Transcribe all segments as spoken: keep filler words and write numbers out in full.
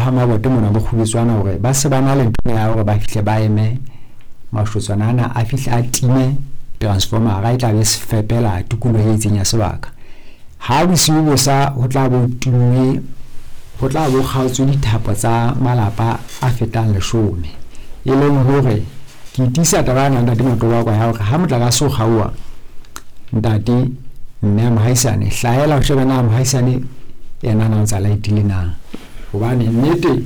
ha Mabote mona bo Kgubetswana hore ba se ba na le ntho ya hore ba fihle ba eme mashotswana ana a fihle a time transformera e tla be se fepela tikoloho e itseng ya sebaka. Ha bosiu bo sa ho tla bo timme, ho tla bo kgaotswe dithapo tsa malapa a fetang leshome. E leng hore ke tiisa taba ena ntate Matobako ya hore ha motlakase o kgaoha, ntate mme mohaisane hlahela o shebe na mohaisane yena na o ntsa light-ile na. Hobane nnete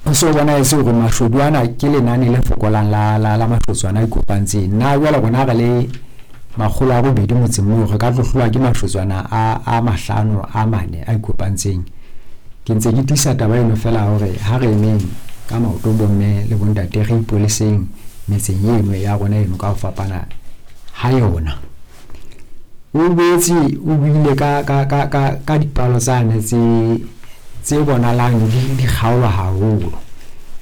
ho so bonahetse hore mashodu ana ke lenane le fokolang la la la mashotswana a ikopantseng. Nna jwale rona re le makgolo a robedi motseng moo re ka tlo hlolwa ke mashotswana a a mahlano a mane a ikopantseng. Ke ntse ke tiisa taba eno feela hore ha re emeng ka maoto bomme le bontate re ipoleseng metseng eno ya rona eno ka ho fapana ha yona. O boetse o buile ka ka ka ka ka dipalo tsane tse tse bonahalang di di kgaolwa haholo.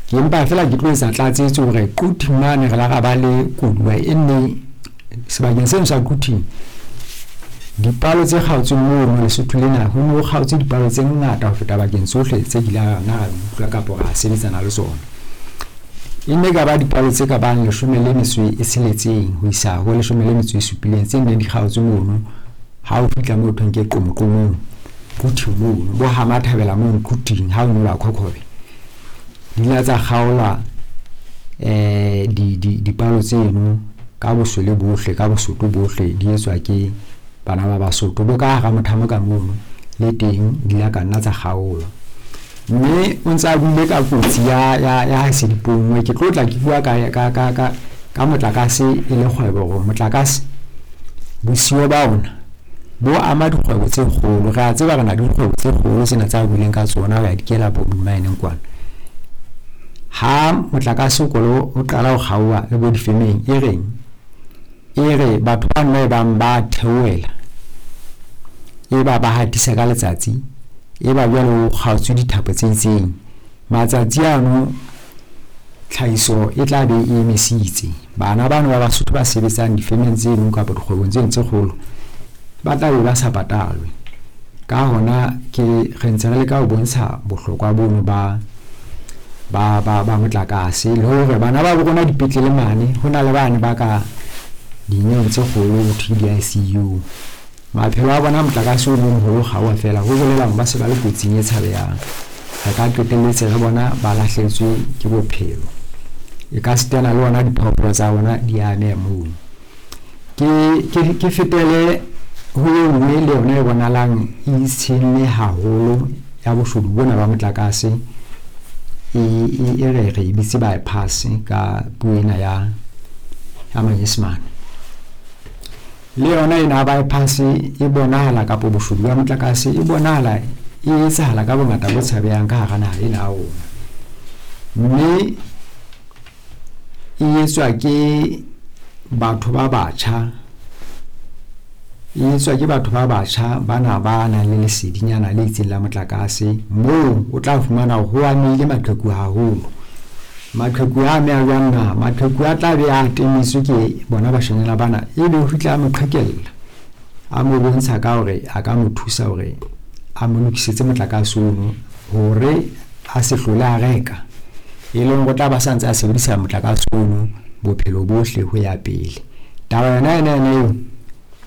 Ke empa feela ke tlo etsa tlatsetso hore Quthing mane re la ra ba le koduwa e nne sebakeng seno sa Quthing. Dipalo tse kgaotsweng mono Lesotho lena ho no kgaotswe dipalo tse ngata ho feta bakeng tsohle tse kile ra nna ra utlwa kapa ra sebetsana le tsona. E ne ka ba dipalo tse ka bang leshome le metso e tsheletseng ho isa ho leshome le metso e supileng tse neng di kgaotswe mono ha o fihla moo thweng ke Qomoqomong Quthing mono bo ha Mathabela mono Quthing ha o nyolla Khokhobe. Di ile tsa kgaolwa eh di di dipalo tseno ka boswele bohle ka bosotho bohle di etswa ke bana ba Basotho bo ka hara Mothamo ka mono le teng di la ka nna tsa kgaolwa. Mme o ntsa buile ka kotsi ya ya ya ha se dipongwe ke tlo tla ke bua ka ka ka ka ka motlakase e le kgwebo hore motlakase bosiyo ba ona bo ama dikgwebo tse kgolo. Re a tseba re na le dikgwebo tse kgolo tsena tsa buileng ka tsona ho ya dikela bo di-mine-eng kwana. Ha motlakase o kolo o qala ho kgaoha le bo difemeng e reng e re batho ba nna e bang ba theohela e ba ba hatisa ka letsatsi e ba jwale o kgaotswe dithapo tse itseng. Matsatsi ano tlhahiso e tla be e emisitse. Bana bano ba Basotho ba sebetsang difemeng tseno kapa dikgwebong tseno tse kgolo ba tla be ba sa patalwe. Ka hona ke re ntse re leka ho bontsha bohlokwa bono ba ba ba ba motlakase le hore bana ba bo rona dipetlele mane ho na le bane ba ka dinyewe tse kgolo ho thwe di-I C U. Maphelo a bona motlakase o mong ho kgaoha feela ho bolela hore ba se ba le kotsing e tshabehang. Re ka qetelletse re bona ba lahlehetswe ke bophelo. E ka sitana le ona diphoofolo tsa bona di ameha mono. Ke ke ke fetele ho e nngwe le yona e bonahalang e itshenne haholo ya boshodu bona ba motlakase e e e re re e bitse bypass ka puo ena ya ya Manyesemane. Le yona ena bypass e bonahala kapa boshodu ba motlakase e bonahala e etsahala ka bongata bo tshabehang ka hara naha ena ya rona. Mme e etswa ke batho ba batjha, e etswa ke batho ba batjha bana ba nang le lesedinyana le itseng la motlakase moo o tla fumana hore ho amehile maqheku haholo. Maqheku a ameha jwang na? Maqheku a tla be a temetswe ke bona bashanyana bana ebe o fihla a mo qhekella, a mo bontsha ka hore a ka mo thusa hore a mo lokisetse motlakase ono hore a se hlole a reka. E leng hore o tla ba sa ntse a sebedisa motlakase ono bophelo bohle ho ya pele. Taba yona ena ena eo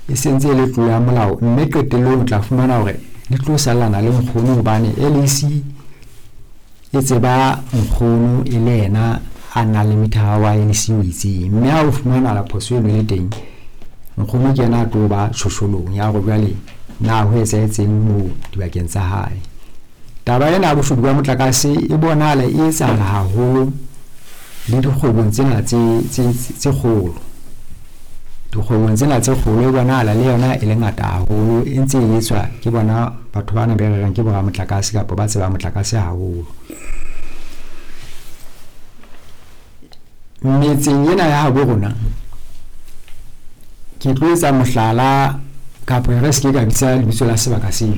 e sentse e le tlolo ya molao mme qetellong o tla fumana hore di tlo sallana le nkgono hobane L E C e tseba nkgono e le yena a nang le mithara wa L E C o itseng. Mme ha o fumana phoso eno e le teng, nkgono ke yena a tlo ba shosholong ya hore jwale na ho etsahetseng moo dibakeng tsa hae. Taba ena ya boshodu ba motlakase e bonahala e etsahala haholo le dikgwebong tsena tse tse tse kgolo. Dikgwebong tsena tse kgolo e bonahala le yona e le ngata haholo e ntse e etswa ke bona batho bana be re reng ke boramotlakase kapa ba tsebang motlakase haholo. Metseng ena ya habo rona ke tlo etsa mohlala kapa re se ke ka bitsa lebitso la sebaka seo.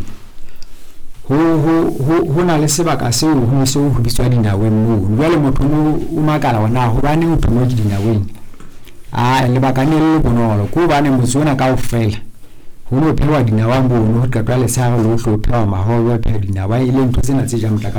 Ho ho ho ho na le sebaka seo ho se ho bitswa dinaweng moo. Jwale motho o makala hore na hobaneng ho thwe ke dinaweng. Ah, lebaka ne le bonolo ke hobane motse ona kaofela ho no phehwa dinawa mono, ho qetwa letshehare lohle ho phehwa mahobe, ho phehwa dinawa e leng ntho tsena tse jang motlakase.